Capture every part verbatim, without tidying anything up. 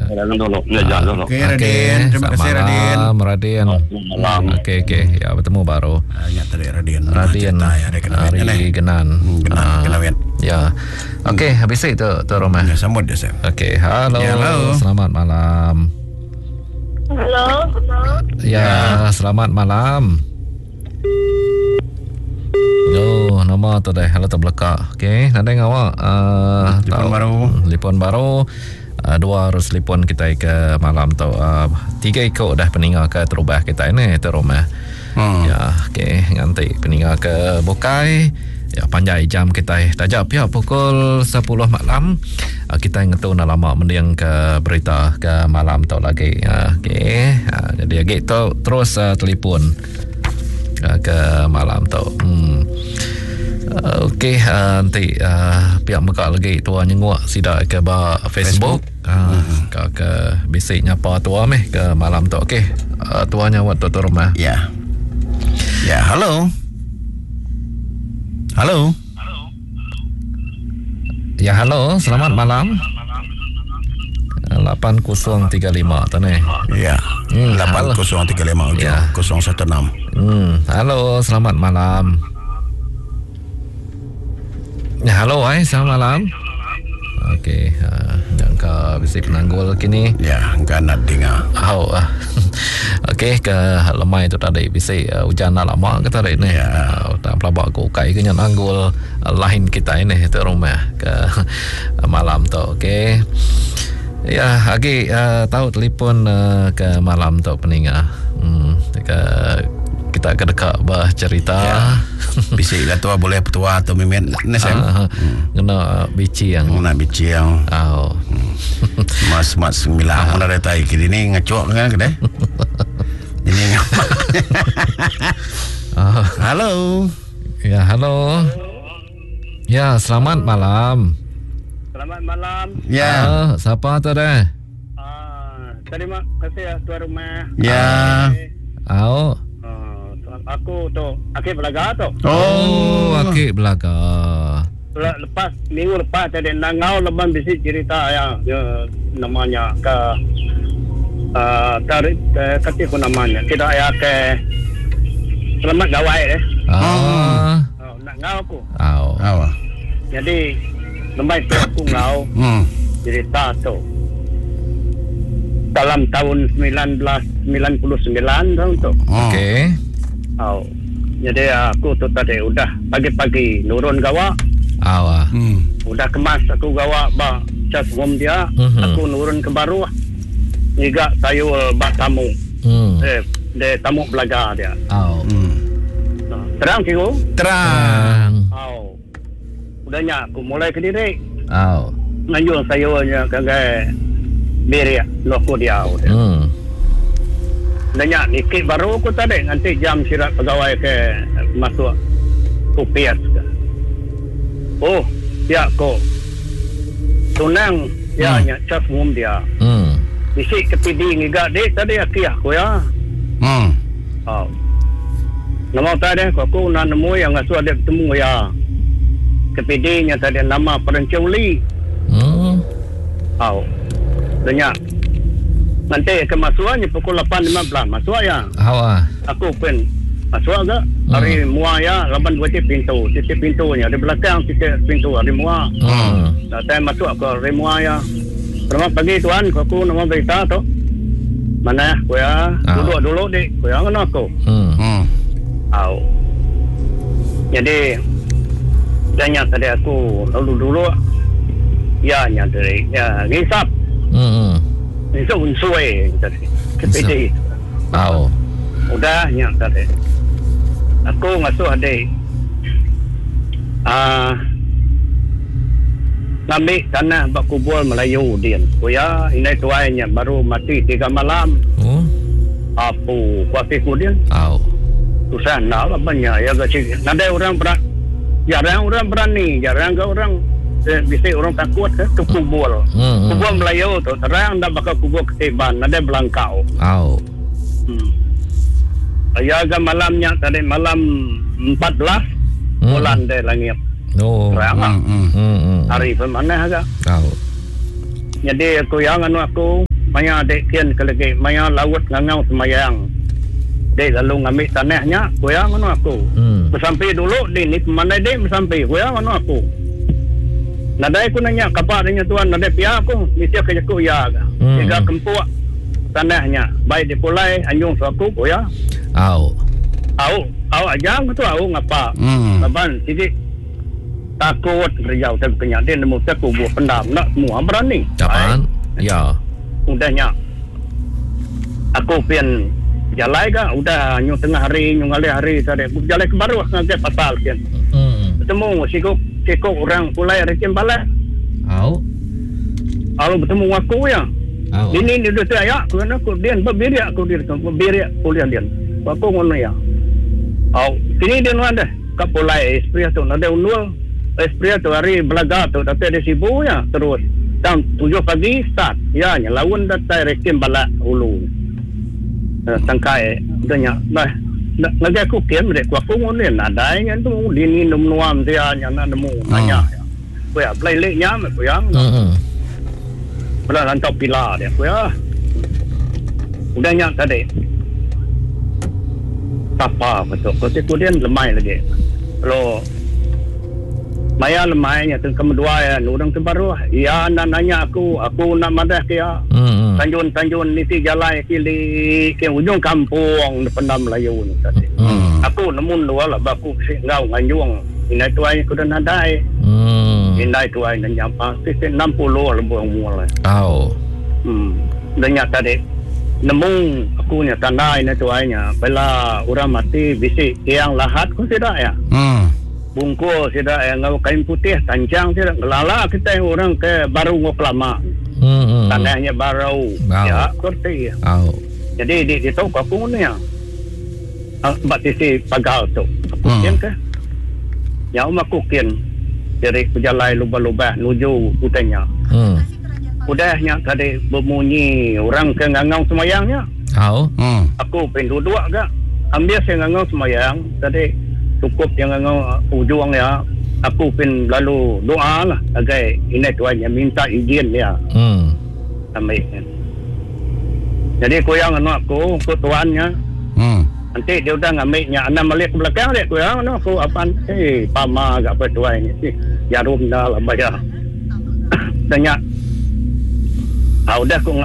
Jangan dulu. Ya, jangan dulu. Okey Radin, terima kasih Radin. Malam Radin. Malam. Okey okey, ya bertemu baru. Ah, ingat tadi Radin. Radin. Cerita ya, Hari Genan. Genan, Ah, Kenawit. Ya. Okey, habis itu tu rumah. Ya, sambut dia Sam. Okey, halo. Ya, halo. Selamat malam. Halo. Ya, selamat malam. Yo, nama tu dah. Halo tu belakang. Okey, nanti ngawak uh, Telefon baru. Telefon baru. Uh, dua harus telefon kita ke malam tu. Uh, tiga ikut dah peninggal ke terubah kita ini tu rumah. Hmm. Ya, okey, nganti peninggal ke Bukai. Ya, panjai jam kita tajak pihak pukul sepuluh malam. Uh, kita ngetu nak lama mending ke berita ke malam tu lagi. Uh, okey. Uh, jadi lagi tu terus uh, telefon uh, ke malam tu. Hmm. Uh, okey, uh, nanti uh, pihak mekak lagi tua nyenguk sidak ke ba Facebook. Facebook. Uh, hmm. Ke ke bisik nyapa tua meh ke malam tu. Okey. Uh, tua nyawat tu tu rumah. Ya. Ya, halo. Halo. Ya, halo, selamat malam. lapan kosong tiga lima tu ni. Ya. Hmm, lapan kosong tiga lima ujung Ya. kosong satu enam. Hmm, halo, selamat malam. Ya, halo, ai, selamat malam. Okey, uh, jangka bisi penanggul kini. Ya, engkau nak dengar. Oh, ah. Okey, ke lemai tu tadi bisi uh, hujan nak lama ke tadi ni. Ya. Uh, tak pelabak aku kai ke nanggul uh, line kita ini tu rumah ke uh, malam tu. Okey. Ya, agi uh, tahu telefon uh, ke malam tu peninga. Hmm, ke kita ke dekat bercerita. Ya. Bisik lah tua boleh petua atau mimin ni Sam. Ah, kena bici yang Nak bici yang oh. mas mas sembilan mana ada tai kini ni ngecok kan kedai. Ini ngamak. Ah. Halo. Ya, halo. Ya, selamat malam. Selamat malam. Ya. Ah, siapa tu dah? Ah, terima kasih ya tuan rumah. Ya. Au. Ah, aku tu Akib Belaga tu. Oh, Akib Belaga. Le- Lepas minggu lepas tadi nangau leban bisi cerita ya, ya namanya ke ah tarik uh, kati ku namanya. Kita ya ke selamat gawai eh. Ah. Oh, nak ngau aku. Au. Awa. Jadi lembai tu aku ngau Hmm. cerita tu. Dalam tahun sembilan belas sembilan puluh sembilan tahun tu. Oh. Okey. Oh. Jadi aku tu tadi udah pagi-pagi nurun gawak, Au. ah. Hmm. udah kemas aku gawak ba cas home dia, Mhm. aku nurun ke baru ngiga sayur bak tamu. Hmm. Eh, de tamu belaga dia. Au. Hmm. Nah, terang cikgu? Terang. Oh. Udahnya aku mulai ke diri. Au. Nganjung sayurnya ke ke birik loko dia. Udah. Hmm. Udahnya nikik baru aku tadi nanti jam sirat pegawai ke masuk kupias ke. Oh, ya ko. Tunang ya Hmm. nya cas mum dia. Hmm. Bisi ke P D ngiga dek tadi aki aku ya. Hmm. Oh. Nama tadi aku aku nak nemu yang ngasuh ada bertemu ya. Ke P D nya tadi nama Perencung Lee. Hmm. Oh. Udahnya nanti ke masuannya pukul lapan lima belas masuk ya. Au ah. Aku pun masuk ke hari mua ya lapan dua titik pintu titik pintunya di belakang titik pintu hari mua. Hmm. Nah, saya masuk ke hari mua ya. Selamat pagi tuan, aku nama berita tu. Mana aku ya? Ah. Duduk dulu dik, aku ya ngono aku. Hmm. Hmm. Au. Jadi tanya tadi aku lalu dulu ya nya tadi ya ngisap Hmm. ngisap unsui tadi. Ke P D. Au. Udah nya tadi. Aku ngasuh adik. Ah ngambil tanah bak kubur Melayu din. Kuya ini tuainya baru mati tiga malam. Oh. Apu kuapi ku din. Au. Susah nak lah banyak ya ke Nadai orang beran jarang orang berani, jarang ke orang eh, bisa orang takut ke, ke kubur. Hmm. Kubur Melayu tu terang dah bakal kubur ketiban, nadai belangkau. Au. Hmm. Ya ke malamnya tadi malam empat belas Hmm. bulan deh langit. Oh. Terang lah. Hmm. Hmm. hmm. Hari pun mana agak. Au. Jadi aku yang anu aku Maya dek kian ke lagi maya laut ngangau semayang. Dek lalu ngambil tanahnya, kuya ngono aku. Hmm. Bersampai dulu di ni pemandai dek bersampai, kuya ngono aku. Nadai aku nanya kabar dengan tuan, nadai pihak aku, mesti aku jaku ya. Hmm. Tiga kempuk tanahnya, baik di pulai anjung suaku kuya. Au. Au, au aja aku tu au ngapa. Hmm. Laban sigi takut kerja utai kenya dia nemu tak kubur pendam nak semua berani. Kapan? Ya. Udahnya. Aku pin jalai ga udah nyu tengah hari nyu ngalih hari tadi aku jalai ke baru ngagai pasal kian. Hmm. Bertemu siku siku orang pulai rekim balai. Au. Lalu bertemu aku ya. Au. Ini ni duduk saya aku nak aku dia berbirik aku dia berbirik kuliah dia. Aku ngono ya. Au, sini dia nuan dah. Ka pulai espria tu ada unul. Espria tu hari belaga tu datai di Sibu ya terus. Tang tujuh pagi start. Ya nya lawan datai rekim balak hulu. Tangkai udahnya bah ngagai aku kian mereka aku ngono nadai nya tu dini nuam dia nya nak nemu nanya. Ku ya belai lek nya ku ya. Hmm. Belah rantau pila dia ku ya. Udahnya tadi. Apa betul. Kau tu dia lemai lagi. Kalau maya lemainya tu kedua ya, orang tu baru. Ya nak nanya aku, aku nak madah ke ya. Hmm. Tanjun-tanjun niti jalan kili ke ujung kampung depan Melayu ni tadi. Hmm. Aku nemu dua lah baku si ngau nganjung. Inai tuai aku dah nadai. Hmm. Inai tuai nak nyampa si enam puluh lebih umur lah. Au. Hmm. Dan tadi nemu aku nya tanda ini tuainya bela orang mati bisi tiang lahat ku tidak ya. Hmm. Bungkus tidak ya ngau kain putih tancang tidak ngelala kita orang ke baru ngok lama. Hmm. Tanahnya baru. Wow. Ya kerti. Au. Jadi di di tu aku ni ya. Bak sisi pagal tu. Aku Hmm. kian ke? Ya um aku kian dari pejalai lubah-lubah nuju utanya. Hmm. Udahnya tadi berbunyi orang ke ngangau semayangnya. Au. Hmm. Aku pin duduk agak. Ambil saya ngangau semayang tadi cukup yang ngangau ujung ya. Aku pin lalu doa lah agai ini tuannya minta izin ya. Hmm. Ambil. Jadi ku yang anu aku ku tuannya. Hmm. Nanti dia udah ngambilnya enam balik ke belakang dia ku yang anu aku apaan eh pama agak apa tuan ni. Jarum dah lah bayar. Tanya. Ah udah aku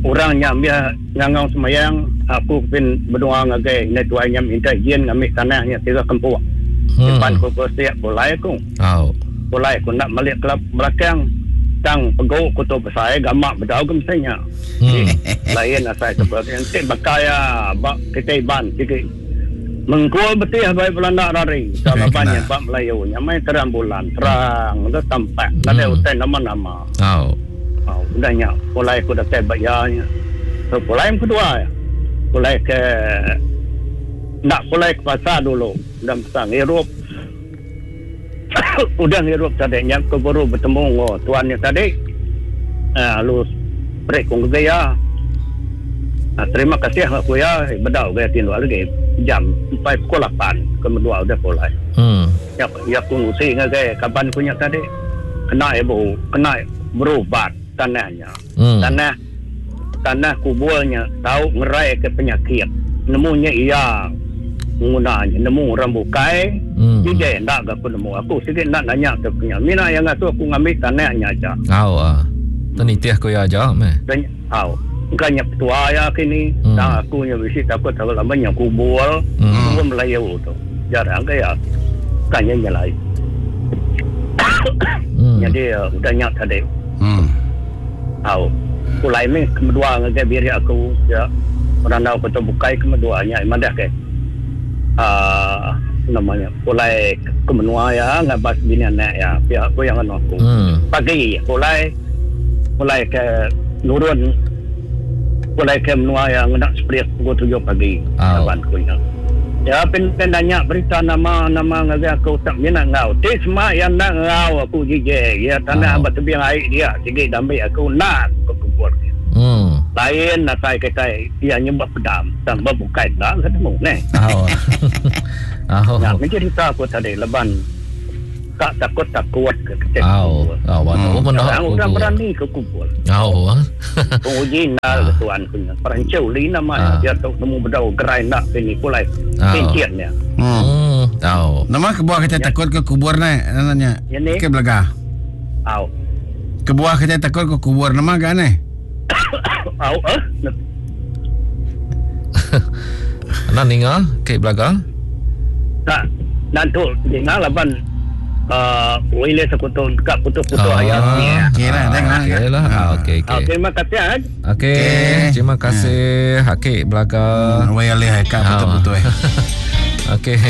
orangnya ambil ngangau semayang aku pin berdoa ngagai ini tuannya minta izin ngambil tanahnya tiga kempuk. Hmm. Depan ku bersiap pulai aku. Au. Pulai aku nak balik ke belakang tang pegau ku tu besar gamak bedau ke mestinya. Hmm. Lain asal seperti nanti bakaya bak kita iban sikit. Mengkul betih baik Belanda rari. Kalau banyak bak Melayu nya mai terang bulan terang dah tampak. Ada utai nama-nama. Au. Oh, udahnya pulai aku datai bayarnya. So pulai yang kedua ya. Pulai ke nak pulai ke pasar dulu. Udah pasar ngirup. Udah ngirup tadi nya aku baru bertemu oh, tuannya tadi. Ah lu break kong gaya. Ah, terima kasih aku ya bedau gaya tinduk lagi jam empat pukul lapan kedua udah pulai. Hmm. Ya ya aku ngusi ngagai kaban punya tadi. Kena ibu, kena berubat tanahnya. Hmm. Tanah tanah kuburnya tahu ngerai ke penyakit. Nemunya ia menggunanya nemu orang bukai. Hmm. Dia ndak aku nemu. Aku sikit nak nanya ke punya. Mina yang ngatu aku ngambil tanahnya aja. Au ah. Tenitih aku ya aja meh. Dan au. Bukannya petua ya kini. Hmm. Tang aku nya bisi takut takut lamanya kubur. Hmm. Kubur Melayu tu. Jarang ke ya. Bukannya nyelai. Hmm. Jadi uh, udah nyak tadi. Hmm. Au. Kulai ni kedua ngagai biri aku ya. Orang tahu kota bukai keduanya madah ke. Ah namanya kulai ke menua ya ngabas bini anak ya. Pihak aku yang anu aku. Hmm. Pagi kulai kulai ke nurun kulai ke menua yang nak sprit pukul tujuh pagi. Au. Kawan ku ya. Ya pin nanya berita nama-nama ngagai aku tak minat ngau. Ti semua yang nak ngau aku jije. Ya tanah Oh. batu biang air dia sikit damai aku nak ke kubur. Hmm. Lain nak saya kata dia nyebab pedam tambah bukai dah ketemu ne. Au. Au. Nah, mencerita aku tadi leban Kak takut-takut ke kecil. Au, au, waduh hmm. Orang orang berani ke kubur. Au. Penguji nal tuan punya. Perancu li nama dia tu nemu bedau gerai nak sini pulai. Pincin dia. Hmm. Au. Nama kebuah kita takut ke kubur ni nanya. Ke belaga. Au. Kebuah kita takut ke kubur nama gak ni? Au eh. Nak ninga ke belaga? Tak. Nantu ninga laban Uh, boleh sekutu dekat putus-putus ayat ni. Okey lah, tengok. Okey lah. Okey, okey. Terima kasih. Okey, terima kasih Hakik Belaga. Wei alih kat putus-putus. Okey.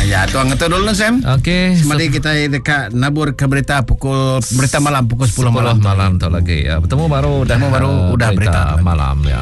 Ya, tuan ngetu dulu Sam. Okey. Semadi kita dekat nabur ke berita pukul berita malam pukul sepuluh malam. malam tu lagi. Ya, bertemu baru dah bertemu baru udah berita malam ya.